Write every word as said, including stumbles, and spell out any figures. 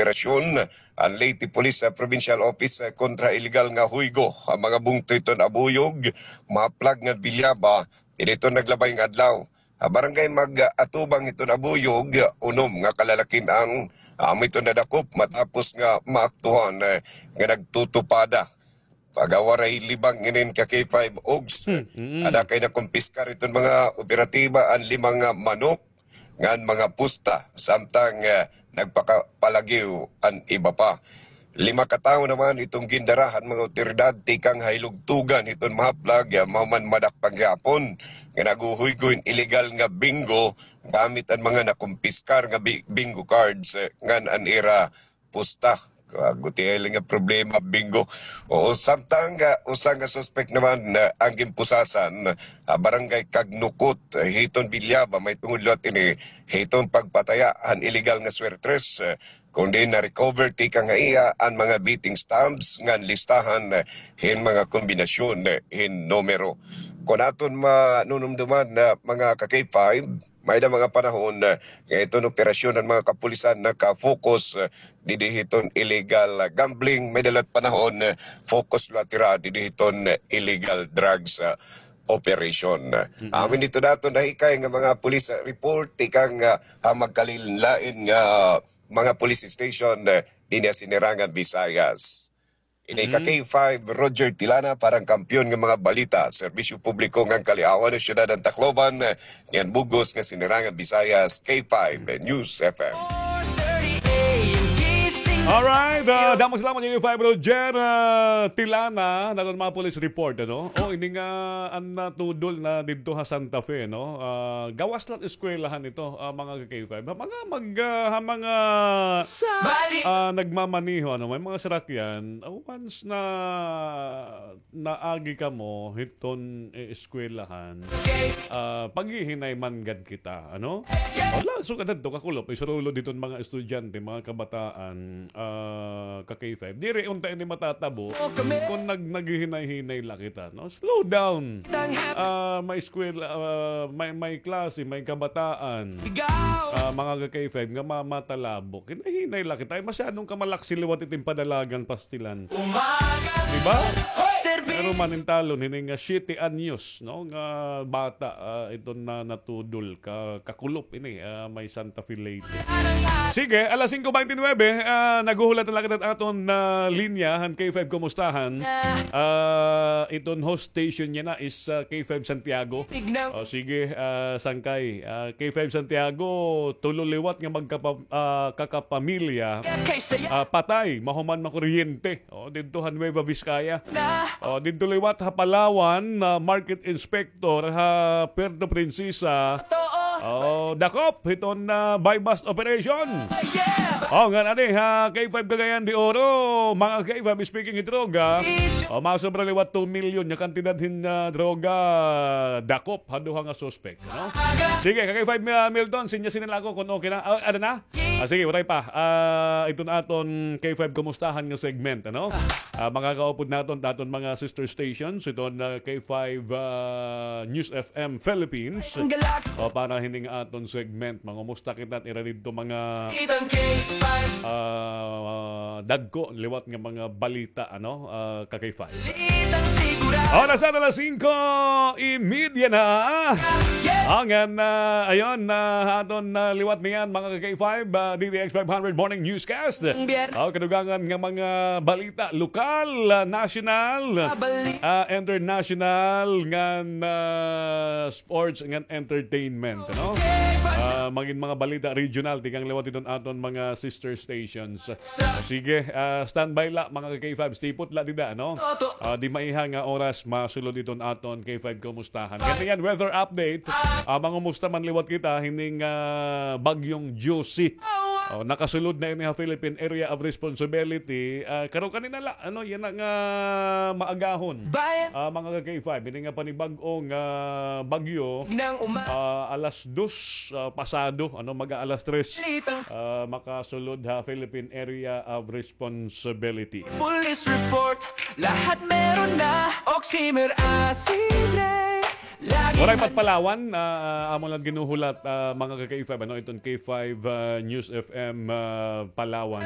operasyon an Leyte Police, ah, Provincial Office, ah, kontra illegal nga huygo. An mga bungto hiton Abuyog, Maplag ngan Villaba, dinhi hiton naglabay nga adlaw. Ha Barangay Mag-atubang hiton Abuyog, unom nga kalalakin-an amo hiton nadakop matapos nga maaktuhan, eh, nga nagtutupada. Pagawaray libang inin ka K five Ogs. Hmm, mm. Ada kay nakumpiskar hiton mga operatiba an lima nga manok ngan mga pusta, samtang, eh, nagpakapalagiw an iba pa. Lima ka tawo naman iton gindara han mga awtoridad tikang ha Hilugtugan hiton Maplag, eh, mahuman madakpan gihapon nga naghuhuygo hin illegal nga bingo gamit an mga nakumpiskar nga bi-, bingo cards, eh, ngan an ira pusta. Ah, gutiay la nga problema, bingo. Oo, samtang, ah, usa nga suspek naman, ah, an ginpusasan, ah, Barangay Kagnukot, ah, hiton Villaba, mahitungod liwat ini hiton pagpataya han illegal nga swertres, ah, kundi na-recover tikang ha iya an mga betting stumps ngan listahan, ah, hin mga kombinasyon, ah, hin numero. Kon aton manunumduman, ah, mga ka K five, may-ada mga panahon, eh, nga iton operasyon han mga kapulisan naka-focus, eh, didi hiton illegal, ah, gambling. May-ada liwat panahon, eh, focus liwat hira didi hiton, eh, illegal drugs, ah, operation. Mm-mm. Amin didto naton nahikay nga mga police, ah, report tikang, ah, ha magkalain-lain nga mga police station, eh, dinhi ha Sinirangan Visayas. Ini ka Mm. K five, Roger Tilana, para han kampiyon nga mga balita, serbisyo publiko ngan kaliawan han syudad han Tacloban, ngan bug-os nga Sinirangan Visayas, K five News F M. Alright, ah, damo salamat, K five Roger, ah, Tilana, han aton mga police report, ano? O, ini nga, an natudol na didto ha Santa Fe, no? Ah, gawas la han eskwelahan ito, ah, mga ka K five. Ha mga mag-, ah, ha mga, ah, nagmamaneho, ano, may mga sarakyan, ah, once na naagi kamo hiton, eh, eskwelahan, ah, paghihinay man gad kita, ano? Wala, sugad hadto, kakulop, isurulo diton mga estudyante, mga kabataan, ah, ka K five. Diri unta ini matatabo kon nag-, naghihinay-hinay la kita, no? Slow down. Ah, may eskwela, ah, may, may klase, may kabataan. Ah, mga ka K five nga ma-, matalabo. Hinahinay la kita. Ay, masyadong kamalaksi liwat iton padalagan pastilan. Di ba? Pero manintalon, hini nga siyete anyos, no? Nga bata, ah, iton na natudol, ka-, kakulop ini, ah, may Santa Fe Leyte. Sige, alas singko bente nuebe, ah, naghuhulat na la kita han aton, ah, linya, han K five Kumustahan. Ah, iton host station niya na is, ah, K five Santiago. O, sige, ah, sangkay. Ah, K five Santiago, tulo liwat nga magkapa-, ah, kakapamilya, ah, patay, mahuman makuryente. O, didto ha Nueva Vizcaya. O, didto liwat ha Palawan, ah, market inspector ha Puerto Princesa. O, dakop hiton, ah, buy-bust operation. O, ngan adi ha K five Cagayan de Oro, mga K five, speaking hit droga. O, masobra liwat two million nga kantidad hin, ah, droga, dakop ha duha nga suspek. No? Sige, ka K five, ah, Milton, sinya-sinya la ako kon okay na. Ah, ano na? Ah, sige, waray pa. Ah, iton aton K five Kumustahan nga segment, ano? Ah, makakaupod naton, aton mga sister stations, iton, ah, K five, ah, News F M Philippines. O, para hining aton segment, mangumusta kita, ira didto mga, ah, dagko, liwat nga mga balita, ano? Ah, ka K five. Oras na alas singko y media na. Ngan, ah, ayon, ah, aton, ah, liwat niyan, mga ka K five, ah, D T X five hundred Morning Newscast. O, kadugangan nga mga balita, lokal, ah, national, ah, international, ngan, ah, sports, ngan entertainment, no? Ah, mangin mga balita regional, tikang liwat iton aton mga sister stations. Ah, sige, ah, standby la, mga ka K five, stay put la dida, no? Ah, di maiha nga oras, masulod iton aton K five Kumustahan. Kaniyan, weather update. Ah, mangumusta man liwat kita, hining, ah, Bagyong Josie. O, nakasulod na ini ha Philippine Area of Responsibility. Ah, karo kanina la, ano, yana nga maagahon. Ah, mga ka K five, ini nga panibag-o nga bagyo, ah, alas dos, ah, pasado, ano, mag-aalas tres, ah, makasulod ha Philippine Area of Responsibility. Police report, lahat meron na. Oximer, Acidre. Waray pa it Palawan, ah, amo la it ginhuhulat, ah, mga ka K five, ano, iton K five, ah, News F M, ah, Palawan.